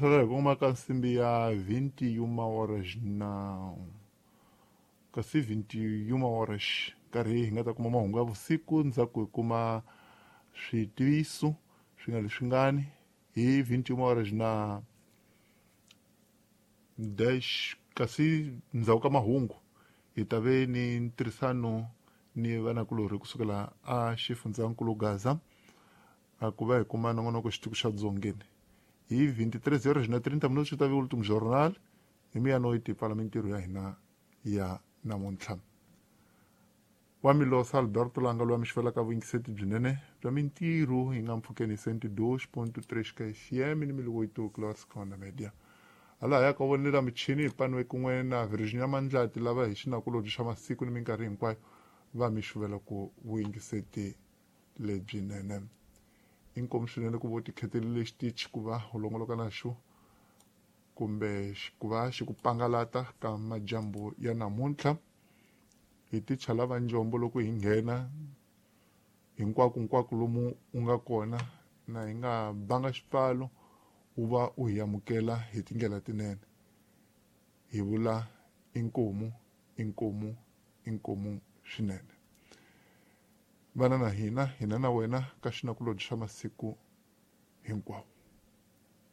Sala hi kongoma ka nsimbi ya 21 horas na kasi 21 horas nkarhi hi nga ta kuma mahungu ya vusiku ndzhaku hi kuma switiviso swi nga leswingani hi 21 horas na dash kasi ndzhaku ka mahungu hi ta ve ni ntirhisano ni vanakulorhi kusukela a xifundzankulu Gaza a ku va hi kuma nongonoko xitiko xa dzongeni hi 23 horas na 30 minutos swi ta ve ultim jornal hi miyanoiti pfala mintirho ya hina ya namuntlha. Wa Milosa Alberto Langa loyi a mi xivelaka vuyingiseti byinene bya mintirho hi nga mpfhukeni 102.3 ka FM ni miliwoito Clarkscona Media. Hala ya ka vonela michini hi paniwe kun'we na Virginia Mandlati lava hi xinakulobye xa masiku ni minkarhi hinkwayo va mi xuvela ku vuyingiseti lebyinene. Inkomu swinene ku vo tikhetelile xitichi ku va u longoloka na xo kumbe ku va xi ku pangalata ka majambu ya namuntlha. Hi ticha lava njombo loko hi nghena hinkwako hinkwako lomu u nga kona na hi nga banga xipfalo u va u hi amukela hi tindlela tinene. Hi vula inkomu inkomu inkomu swinene. Vana na hina hina na wena ka xinakulobye xa masiku hinkwawo.